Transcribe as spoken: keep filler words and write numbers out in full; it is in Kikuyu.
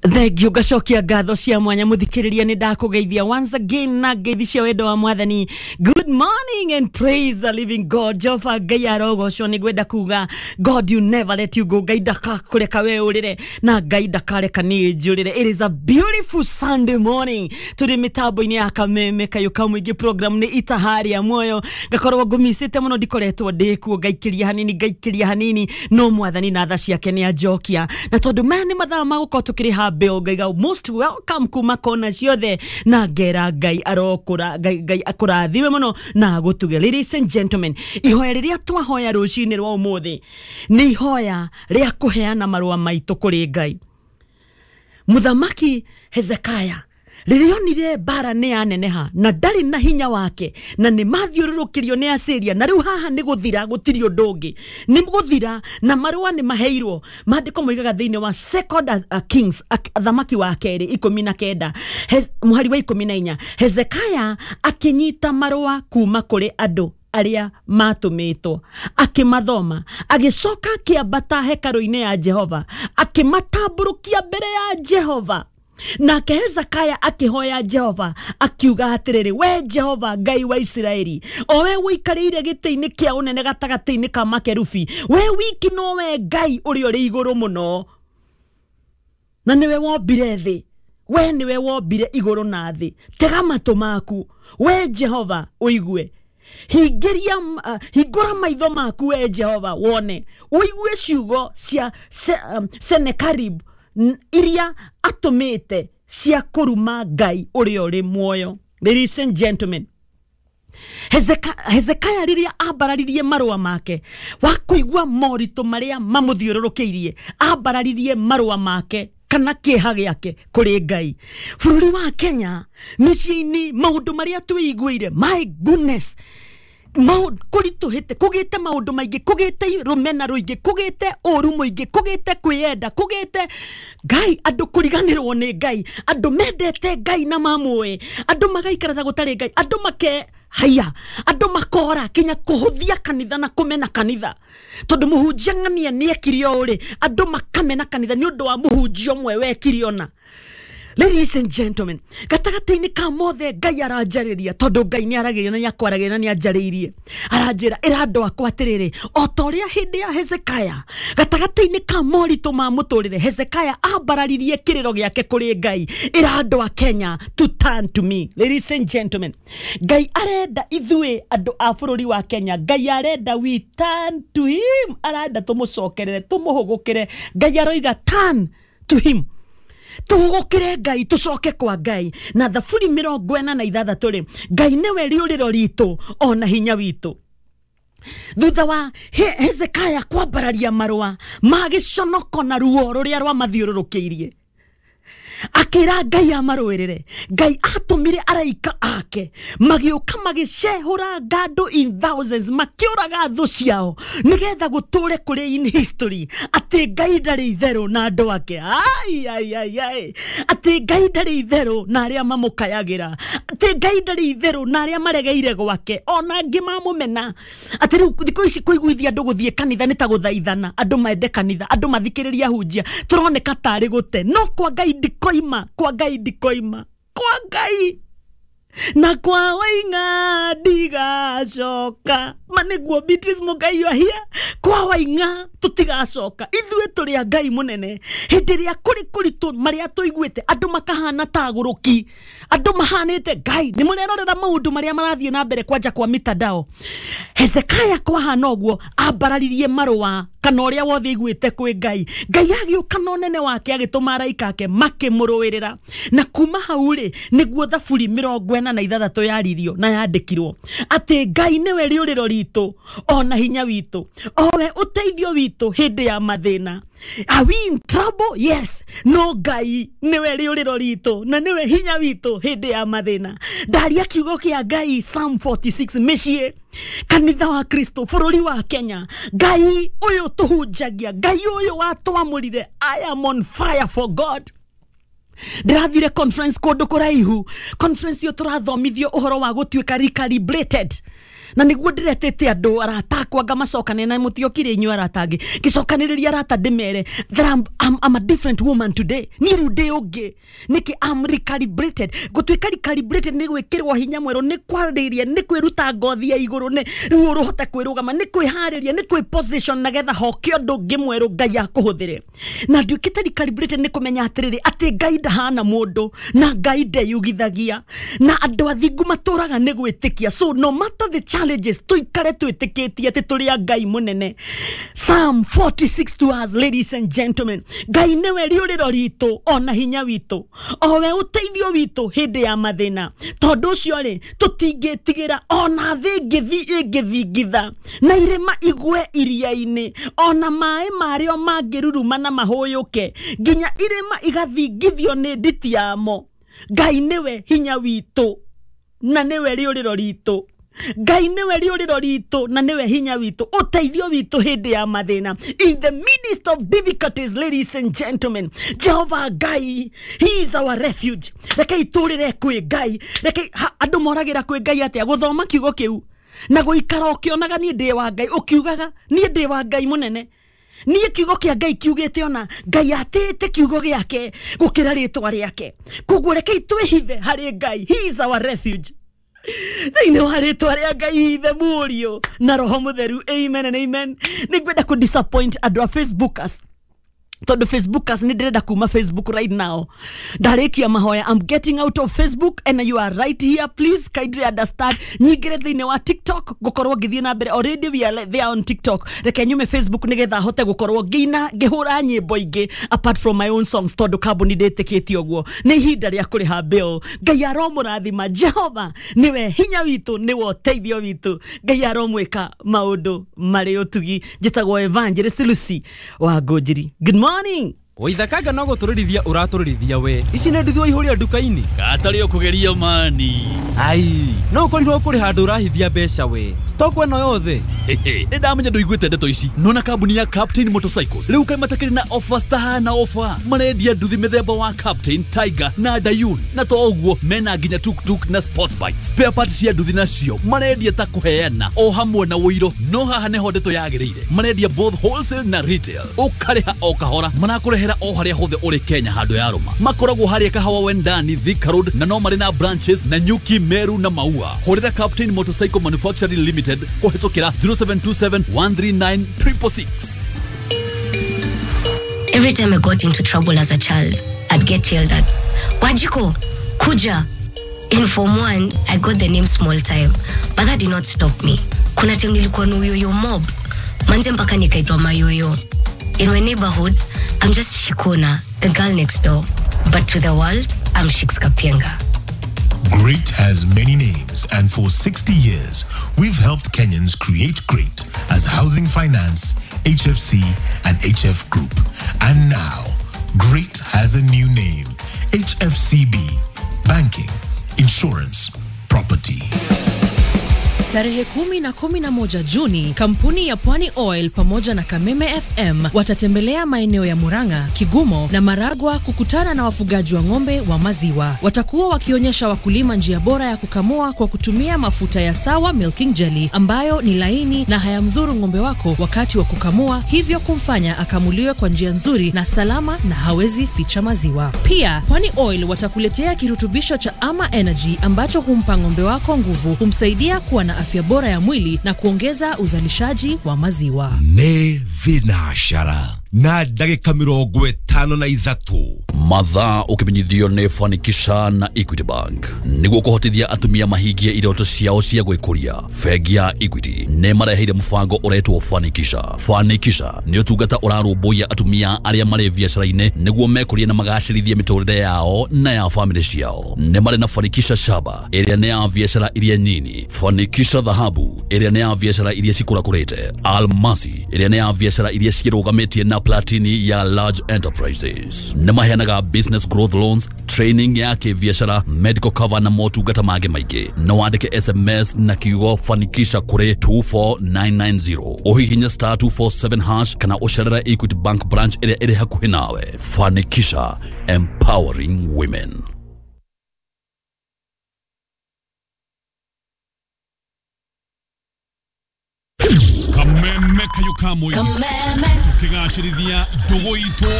Thengio, ngacokia ngatho cia mwanya. Muthikiriria, ni ndakugeithia once again na ngeithi cia wendo wa Mwathani. Good morning and praise the living God. Jehova Ngai arogocwo. Nĩ ngwenda kuga God, you never let you go. Ngai ndakakũreka we ũrĩre na Ngai ndakareka niĩ njũrĩre. It is a beautiful Sunday morning. Tũrĩ mĩtambo-inĩ ya Kameme Kayũ ka Mũingĩ, program nĩ Itaharia Muoyo. Ngakorwo ngũmicĩte mũno, ndikoretwo ndĩkuo, ngaikĩria hanini, ngaikĩria hanini, no Mwathani na tha ciake nĩ anjokia, na tondũ maya nĩ mathaa ma gũkorwo tũkĩrĩha bill, ngaiga most welcome kuma kona ciothe, na ngera Ngai arokũra, Ngai, Ngai akũrathime mũno na agũtuge. Ladies and gentlemen, ihoya rĩrĩa twahoya rũcinĩ rwa ũmũthĩ nĩ ihoya rĩa kũheana marũa maitũ kũrĩ Ngai. Mũthamaki Hezekaya rĩrĩa onire mbara nĩ yaneneha na ndarĩ na hinya wake na nĩ mathiũrũrũkĩrio nĩ Asiria, na rĩu haha nĩ gũthira, gũtirĩ ũndũ ũngĩ, nĩ gũthira, na marũa nĩ maheirwo. Maandĩko moigaga thĩinĩ wa Second uh, Kings, Athamaki wa Kerĩ ikũmi na kenda, mũhari wa ikũmi na inya, Hezekaya akĩnyita marũa kuma kũrĩ andũ arĩa matũmĩtwo, akĩmathoma, agĩcoka akĩambata hekarũ-inĩ ya Jehova, akĩmatambũrũkia mbere ya Jehova. Nake Hezekaya akĩhoya Jehova akiuga atĩrĩrĩ, "We Jehova Ngai wa Isiraeli, o we ũikarĩire gĩtĩ-inĩ kĩa ũnene gatagatĩ-inĩ ka makerubi, we wiki nowe Ngai ũrĩa ũrĩ igũrũ mũno, na nĩwe wombire thĩ, we nĩwe wombire igũrũ na thĩ. Tega matũ maku, we Jehova, ũigue. Hingĩria, uh, hingũra maitho maku, we Jehova, wone, ũigue ciugo cia se, um, Senekarib iria atũmĩte cia kũruma Ngai ũrĩa ũrĩ muoyo." Ladies and gentlemen, Hezeka- Hezekaya rĩrĩa ambararirie marũa make wa kũigua moritũ marĩa mamũthiũrũrũkĩirie, ambararirie marũa make kana kĩeha gĩake kũrĩ Ngai. Bũrũri wa Kenya, mĩciĩ-inĩ, maũndũ marĩa twĩiguĩire, my goodness, kũritũhĩte, kũgĩte maũndũ maingĩ, kũgĩte rũmena rũingĩ, kũgĩte ũru mũingĩ, kũgĩte kwĩyenda, kũgĩte Ngai, andũ kũriganĩrwo nĩ Ngai, andũ mendete Ngai na mamũĩ, andũ magaikara ta gũtarĩ Ngai, andũ make haya, andũ makora kinya kũhũthia kanitha na kũmena kanitha tondũ mũhunjia ng'ania nĩ ekire ũũ rĩ, andũ makamena kanitha nĩ ũndũ wa mũhunjia ũmwe wekire ona. Ladies and gentlemen, gatagatĩ-inĩ ka mothe, Ngai aranjarĩria, tondũ Ngai nĩ aragĩria na nĩ akwaragĩria na nĩ anjarĩirie, aranjĩra, "Ĩra andũ akwa atĩrĩrĩ, o ta ũrĩa hĩndĩ ya Hezekaya, gatagatĩ-inĩ ka moritũ ma mũtũrĩre, Hezekaya ambararirie kĩrĩro gĩake kũrĩ Ngai, ĩra andũ a Kenya to turn to me." Ladies and gentlemen, Ngai arenda ithuĩ andũ a bũrũri wa Kenya, Ngai arenda we turn to him, arenda tũmũcokerere, tũmũhũgũkĩre. Ngai aroiga turn to him, tũhũgũkĩre Ngai, tũcoke kwa Ngai. Na Thaburi mĩrongo ĩna na ithathatũ rĩ, Ngai nĩwe rĩũrĩro ritũ ona hinya witũ. Thutha wa He- hezekaya kwambararia marũa ma gĩconoko na ruo rũrĩa rwamathiũrũrũkĩirie, akĩra Ngai amarũĩrĩre. Ngai atũmire araika ake, magĩũka, magĩcehũra ngandũ in thousands, makĩũraga thũ ciao, nĩgetha gũtũre kũrĩ in history atĩ Ngai ndarĩ itherũ na andũ ake. Ai ai ai ai, atĩ Ngai ndarĩ itherũ na arĩa mamũkayagĩra, atĩ Ngai ndarĩ itherũ na arĩa maregeire gwake, ona angĩ mamũmena. Atĩ rĩu thikũ ici kũiguithia andũ gũthiĩ kanitha nĩ ta gũthaithana, andũ mende kanitha, andũ mathikĩrĩria hunjia, tũroneka tarĩ gũte. No kwa Ngai ndikoima, kwa Ngai ndikoima, kwa Ngai na kwa Waing'a ndigacoka. Ma nĩguo, Beatrice Mũngai ahia, kwa Waing'a tũtigacoka. Ithuĩ tũrĩ a Ngai mũnene. Hĩndĩ ĩrĩa kũrĩ kũritũ, marĩa tũiguĩte andũ makahana ta agũrũki, andũ mahanĩte Ngai, nĩ mũrerorera maũndũ marĩa marathiĩ na mbere kwanja kwa mitandao. Hezekaya kwahana ũguo, ambararirie marũa kana ũrĩa wothe aiguĩte kwĩ Ngai. Ngai agĩũka na ũnene wake, agĩtũma araika ake, makĩmũrũĩrĩra. Na kuma hau rĩ, nĩguo Thaburi mĩrongo ĩna na ithathatũ yaririo na yandĩkirwo atĩ Ngai nĩwe rĩũrĩro ritũ ona hinya witũ, owe ũteithio witũ hĩndĩ ya mathĩna. Are we in trouble? Yes. No Ngai nĩwe rĩũrĩro ritũ na nĩwe hinya witũ hĩndĩ ya mathĩna. Ndaria kiugo kĩa Ngai, Psalm forty-six, mĩciĩ, kanitha wa Kristo, bũrũri wa Kenya, Ngai ũyũ tũhunjagia, Ngai ũyũ watwamũrire. I am on fire for God. Ndĩrathire conference kũndũ kũraihu. Conference ĩyo tũrathomithio ũhoro wa gũtuĩka recalibrated. Na nĩguo ndĩretĩte andũ arata akwa ngamacokania na mũtiokire inyuĩ arata angĩ, ngĩcokanĩrĩria arata ndĩmere that I'm, I'm, I'm a different woman today. Niĩ rĩu ndĩ ũngĩ. Nĩkĩ? I'm recalibrated. Gũtuĩka recalibrated nĩ gwĩkĩrwo hinya mwerũ, nĩ kwarĩria, nĩ kwĩruta ngothi ya igũrũ, nĩ rĩu ũrũhote kwĩrũgama, nĩ kwĩharĩria, nĩ kwĩ position nagetha hoke ũndũ ũngĩ mwerũ Ngai akũhũthĩre. Na nduĩkĩte recalibrated nĩ kũmenya atĩrĩrĩ, atĩ Ngai ndahana mũndũ na Ngai ndeyugithagia, na andũ athingu matũraga nĩ gwĩtĩkia. So no matter the challenges, tuikare twĩtĩkĩtie atĩ tũrĩ a Ngai mũnene. Psalm forty-six to us, ladies and gentlemen, Ngai nĩwe rĩũrĩro ritũ ona hinya witũ, owe ũteithio witũ hĩndĩ ya mathĩna. Tondũ ũcio rĩ, tũtingĩtigĩra ona thĩ ĩngĩthi ĩngĩthingitha, na irĩma igwe iria-inĩ, ona maĩ marĩo mangĩruruma na mahũyũke, nginya irĩma igathingithio nĩ nditi yamo. Ngai nĩwe hinya witũ na nĩwe rĩũrĩro ritũ. Ngai nĩwe rĩũrĩro ritũ na nĩwe hinya witũ, ũteithio witũ hĩndĩ ya mathĩna. In the midst of difficulties, ladies and gentlemen, Jehovah Ngai, he is our refuge. Rekei tũrĩre kwĩ Ngai. Rekei andũ moragĩra kwĩ Ngai atĩa? Gũthoma kiugo kĩu na gũikara ũkĩonaga niĩ ndĩ wa Ngai, ũkiugaga niĩ ndĩ wa Ngai mũnene. Niĩ kiugo kĩa Ngai kiugĩte ona Ngai atĩte kiugo gĩake gũkĩra rĩtwa rĩake. Koguo rekei twĩhithe harĩ Ngai. He is our refuge. Thĩinĩ wa rĩtwa rĩa Ngai Ithe, Mũriũ na Roho Mũtheru, amen and amen. Nĩngwenda kũ disappoint andũ a Facebookers, tondũ Facebookers nĩ ndĩrenda kuma Facebook right now. Ndarĩkia mahoya, I'm getting out of Facebook and you are right here. Please kindly understand. Nyingĩre thĩinĩ wa TikTok ngũkorwo ngĩthiĩ na mbere. Already we are there on TikTok. Reke nyume Facebook nĩgetha hote gũkorwo ngĩina ngĩhũra nyĩmbo ingĩ apart from my own songs, tondũ kambuni ndĩtĩkĩtie ũguo. Nĩ ihinda rĩa kũrĩha bill. Ngai aromũrathima. Jehova nĩwe hinya witũ, nĩwe ũteithio witũ. Ngai aromwĩka maũndũ marĩ ũtugi. Njĩtagwo Evangelist Lucy wa Ngũnjiri. Good morning. Waithakanga no gũtũrĩrithia ũratũrĩrithia we. Ici nĩ nduthi waihũria nduka-inĩ. Katarĩ ũkũgeria mani. Ai, no ũkorirwo kũrĩ handũ ũrahithia mbeca we. Stock ĩno yothe. Nĩ ndamenya ndũiguĩte ndeto ici. Nona kambuni ya Captain Motorcycles rĩu kaĩ matakĩrĩ na offers tahana offer. Marendia nduthi mĩthemba wa Captain, Tiger na Dayun. Na to ũguo mena nginya tuk-tuk na sport bike. Spare parts cia nduthi nacio marendia ta kũheana o hamwe na ũiro. No haha nĩho ndeto yagĩrĩire. Marendia both wholesale na retail. Ũkarĩha o kahora. Marakũrehera o harĩa hothe ũrĩ Kenya handũ ya rũma. Makoragwo harĩa Kahawa Wendani, Thika Road, na no marĩ na branches na Nyuki, Meru na Maua. Hũrĩra Captain Motorcycle Manufacturing Limited kũhĩtũkĩra zero seven two seven one three nine triple six. Every time I got into trouble as a child, I'd get yelled at. Wajiko, Kuja. In Form one, I got the name Small Time, but that did not stop me. Kuna time nilikuwa na uyoyo mob. Manze mpaka nikaitwa mayoyo. In my neighborhood, I'm just Shikona, the girl next door. But to the world, I'm Shiks Kapienga. Great has many names, and for sixty years, we've helped Kenyans create great as Housing Finance, H F C, and H F Group. And now, Great has a new name, H F C B, Banking, Insurance, Property. Tarehe kumi na kumi na moja Juni, kampuni ya Pwani Oil pamoja na Kameme F M watatembelea maeneo ya Murang'a, Kigumo na Maragwa kukutana na wafugaji wa ng'ombe wa maziwa. Watakuwa wakionyesha wakulima njia bora ya kukamua kwa kutumia mafuta ya Sawa Milking Jelly ambayo ni laini na hayamdhuru ng'ombe wako wakati wa kukamua, hivyo kumfanya akamuliwe kwa njia nzuri na salama na hawezi ficha maziwa. Pia, Pwani Oil watakuletea kirutubisho cha Ama Energy ambacho humpa ng'ombe wako nguvu, humsaidia kuwa na afya bora ya mwili na kuongeza uzalishaji wa maziwa. Ne vinashara na ndagika mirongo ĩtano na ithatũ. Mathaa ũkĩmenyithio nĩ Fanikisha na Equity Bank nĩguo kũhotithia atumia mahingie iroto ciao cia gwĩkũria. Bengi ya Equity nĩ mareheire mũbango ũretwo Fanikisha. Fanikisha nĩ ũtungata ũrarũmbũiya atumia arĩa marĩ biacara-inĩ nĩguo mekũrie na magacĩrithie mĩtũrĩre yao na ya famĩlĩ ciao. Nĩ marĩ na Fanikisha Shaba ĩrĩa nĩ ya biacara iria nyini, Fanikisha Dhahabu ĩrĩa nĩ ya biacara iria cikũrakũrĩte, Almasi ĩrĩa nĩ ya biacara iria cirũgamĩtie na Platini ya large enterprises. Nĩ maheanaga business growth loans, training ya kĩbiacara, medical cover na motungata mangĩ maingĩ. No wandĩke S M S na kiugo Fanikisha kũrĩ two four nine nine zero. Ũhihinye star two four seven hash kana ũcerere Equity Bank branch ĩrĩa ĩrĩ hakuhĩ nawe. Fanikisha, empowering women. Kameme kayo ka mũingĩ, tũkĩgacĩrithia ndũgũ itũ.